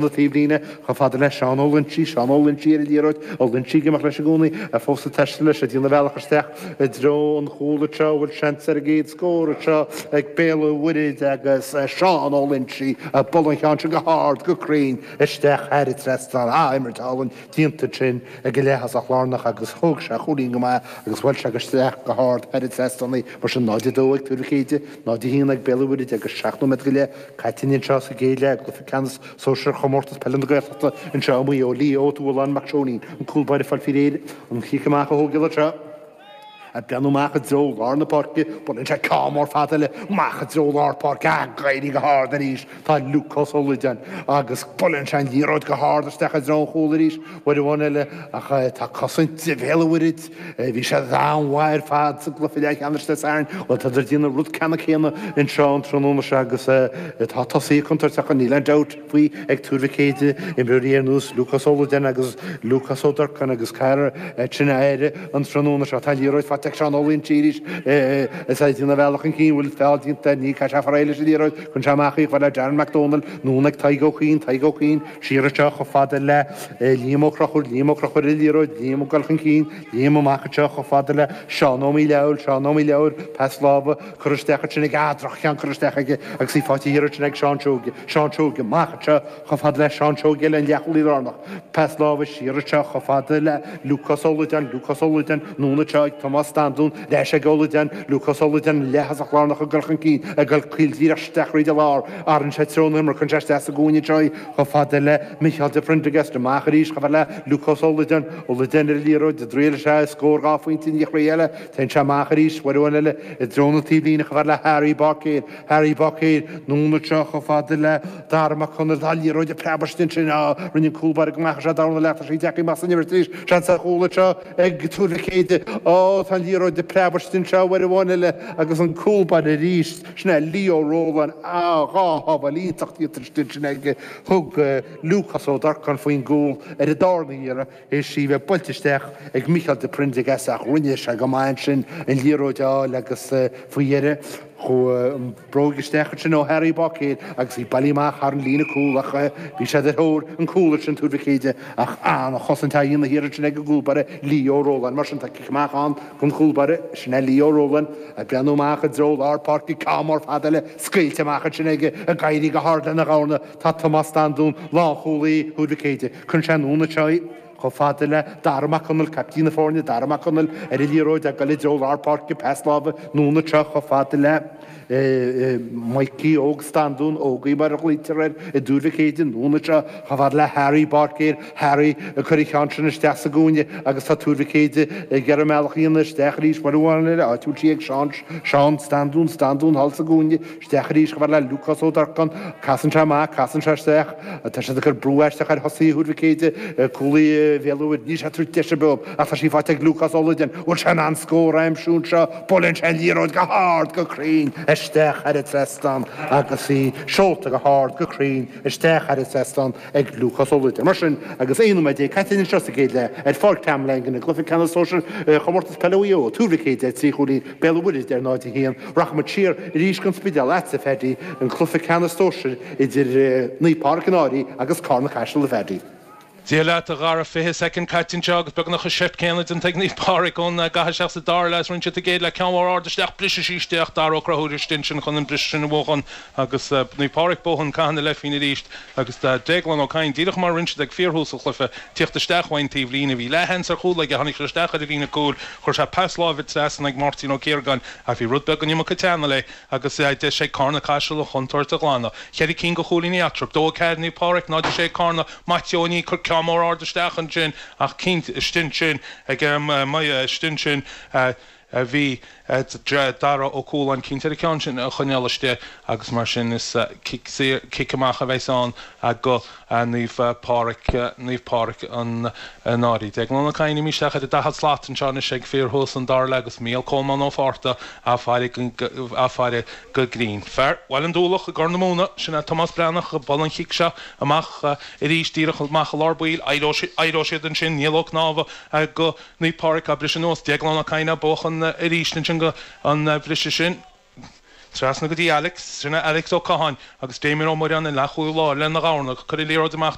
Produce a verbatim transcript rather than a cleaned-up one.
na taobhlíne chomh fada le Seán Ó Loinsigh, Seán Ó Loinsigh ar an liathróid, Ó Loinsigh ag imeacht leis i gcónaí, fós ag taisteal leis, ag déanamh a bhealach isteach i dtreo an chúil anseo, bhfuil seans ar an gcéad scór anseo ag Béal an Mhuirthead agus Seán Ó Loinsigh ag bualadh an cheann sin go hard, go cruinn isteach thar an trasnán. Ah, imirt álainn déanta ansin ag an leath-thosach lárnach agus thóg sé a chúilín go maith agus bhuail sé isteach go hard thar an trasnán í. Mar sin, náid a dó ag Tuar Mhic Éide, náid a haon ag Béal an Mhuirthead agus seacht nóiméad go leith caite anseo sa gcéad leath i gcluiche ceannais sóisir Chomórtas Peile na Gaeltachta anseo i Maigh Eo. Leo Ó Tuathaláin Mac Seoinín, an cúl báire ag fáil faoi réir an chic amach a thógáil anseo. Ag breathnú amach i dtreo lár na páirce, buaileann sé ceann mór fada eile amach i dtreo lár páirce, ag éirí go hard arís tá Lúcás Ó Loideáin agus buaileann sé an liathróid go hard isteach i dtreo an chúil arís uair amháin eile ach tá cosaint Bhéal an Mhuirthead, bhí siad an-mhaith ar fad sa gcluiche leathcheannais Dé Sathairn, bhuel tádar ag déanamh an rud ceannann céanna anseo an tráthnóna seo agus tá tosaithe contúirteacha, níl aon dabht faoi ag Tuar Mhic Éide, imreoirí ar nós Lúcás Ó Loideáin agus Lúcás Ó Durcáin agus caithfear sin a aire an tráthnóna seo. Tá an liathróid faighte ag Seán Ó Loinsigh arís is é ag déanamh a bhealach chun cinn, bhfuil feall déanta air, ní caithfidh sé faraor leis an liathróid, cuireann sé amach í chomh fada le Darren Mac Dónaill, anonn ag Tadhg Ó Cuinn, Tadhg Ó Cuinn, siar anseo chomh fada le Liam Ó Conchúir, Liam Ó Conchúir ar an liathróid, Liam ag dul chun cinn, Liam amach anseo chomh fada le Seán Ó Míleabhail, Seán Ó Míleabhail, pas láimhe curtha isteach ansin aige, ah, droch-cheann curtha isteach aige agus í faighte thiar ansin ag Seán Seoige, Seán Seoige, amach anseo chomh fada le Seán Seoige eile, an leathchúlaí lárnach, pas láimhe siar anseo chomh fada le Lúcás Ó Loideáin, Lúcás Ó Loideáin, anonn anseo ag Tomás Standún, ar ais ag Ó Loideáin, Lúcás Ó Loideáin, an leath-thosach lárnach ag dul chun cinn, ag dul caol díreach isteach thríd an lár, athraíonn sé treo na himeartha, cuireann sé isteach sa gcúinne anseo í chomh fada le Micheál de Prendergast, amach arís chomh fada le Lúcás Ó Loideáin, Ó Loideáin ar an liathróid, ag triail sé scór dhá phointe i ndiaidh chluiche eile, téann sé amach arís uair amháin eile i dtreo na taobhlíne chomh fada le Harry Báicéir, Harry Báicéir, anonn anseo chomh fada le Dara Mac Conaill, tá an liathróid ag preabadh istigh ansin, á, rinne an cúl báire go maith, sé dara leath, tá sí deacair amach san imirt arís, seans ar chúl anseo ag Tuar Mhic Éide, á, tá an liathróid ag preabadh istigh anseo uair amháin eile agus an cúl báire arís, sin é Leo Rowland, á, dhá shábháil iontach déanta istigh ansin aige, thug Lúcás Ó Durcáin faoin gcúl ar an darna iarraidh, théis í bheith buailte isteach ag Micheál de Prendergast ach rinne sé go maith ansin an liathróid a fháil agus faoi dheireadh chuaigh an bróg isteach ansin ó Harry Báicéir agus í bailithe amach thar an líne cúl ach bhí siad ar thóir an cúl ansin Tuar Mhic Éide ach an-chosaint á dhéanamh thiar ansin ag an gcúl báire Leo Rowland. Mar sin tá cic amach ann don chúl báire, sin é Leo Rowland ag breathnú amach i dtreo lár páirce, ceann mór fada eile scaoilte amach ansin aige ag éirí go hard lena dhorna. Tá Tomás Standún, lánchúlaí Thuar Mhic Éide. Cuireann sé anonn anseo í chomh fada le Dara Mac Conaill, caiptín na foirne, Dara Mac Conaill ar an liathróid ag dul i dtreo lár páirce, pas láimhe anonn anseo chomh fada le Mikey Óg Standún, Ógaí mar a ghlaoitear air i dTuar Mhic Éide, anonn anseo chomh fada le Harry Báicéir, Harry ag cur an cheann sin isteach sa gcúinne agus tá Tuar Mhic Éide ag iarraidh a mbealach a dhéanamh isteach arís uair amháin eile, áit a bhfuil sí ag Seán, Seán Standún, Standún thall sa gcúinne. Isteach arís chomh fada le Lúcás Ó Durcáin. Casann sé amach, casann sé isteach. Tá siad ag cur brú aisteach ar thosaithe Thuar Mhic Éide, cúlaí Bhéal an Mhuirthead. Níl sé ag tabhairt deis ar bith dóibh ach tá sí faighte ag Lúcás Ó Loideáin. Bhfuil sé in ann scór a aimsiú anseo? Buaileann sé an liathróid go hard, go cruinn isteach thar an trasnán agus í seolta go hard, go cruinn isteach thar an trasnán ag Lúcás Ó Loideáin. Mar sin, agus aon nóiméad déag caite anseo sa gcéad leath ar Pháirc Tom Langan i gcluiche ceannais sóisir Chomórtas Peile Mhaigh Eo, Tuar Mhic Éide ar trí chúilín, Béal an Mhuirthead ar náid a haon. Rachaidh muid siar arís go An Spidéal agatsa, a Phaddy, an cluiche ceannais sóisir idir Naomh Pádraig an Fhairche agus Carna Caiseal, a Phaddy. Dia leat, a Dhara. Fiche soicind caite anseo agus beagnach an seift céanna déanta ag Naomh Pádraig ón gcaitheamh isteach sa dara leath is rinne siad a gcéad leath. Ceann mór ard isteach, briseadh sí isteach, Dara Ó Conchúir istigh ansin chun an briseadh sin a bhuachan agus Naomh Pádraig buachan caitheamh na leithphingine arís agus Déaglán Ó Cadhain, díreach mar a rinne siad ag fíorthús an chluiche, tíocht isteach ón taobhlíne. Bhí leathsheans ar chúl aige, tháinig sé isteach ar an líne cúil, chuir sé pas láimhe trasna ag Máirtín Ó Ciaragáin ach bhí rud beag an iomarca teanna léi agus deis ag Carna Caiseal an chontúirt a ghlanadh. Ceithre cinn de chúilíní eatarthu, dó a ceathair Naomh Pádraig, náid a sé Carna, Maitiú Ó Nia ag cur ceann mór ard isteach ansin ach cinnte istigh ansin ag istigh ansin bhí Dara Ó Cualáin cinnte ar an cheann sin a choinneáil istigh agus mar sin is cic saor, cic amach a bheas ann go Naomh Pádraig, Naomh Pádraig an Fhairche. Déaglán Ó Cadhain imithe isteach ar an daichead slat anseo anois ag fíorthús an dara leath agus Mícheál Colmán Ó Fátharta á faire á faire go grinn. Fear Bhaile an Dúlach i gCorr na Móna, sin é Tomás Breathnach ag bualadh an chic seo amach arís díreach amach i lár baill. Éireoidh siad ansin, Niall Ó Cnámha go Naomh Pádraig á briseadh anuas. Déaglán Ó Cadhain á buachan arís ansin go an bhriseadh sin. Trasna go dtí Alex, sin Alex Ó Catháin agus Damien Ó Muireáin an leathchúlaí láir lena dhorna, cuir liathróid amach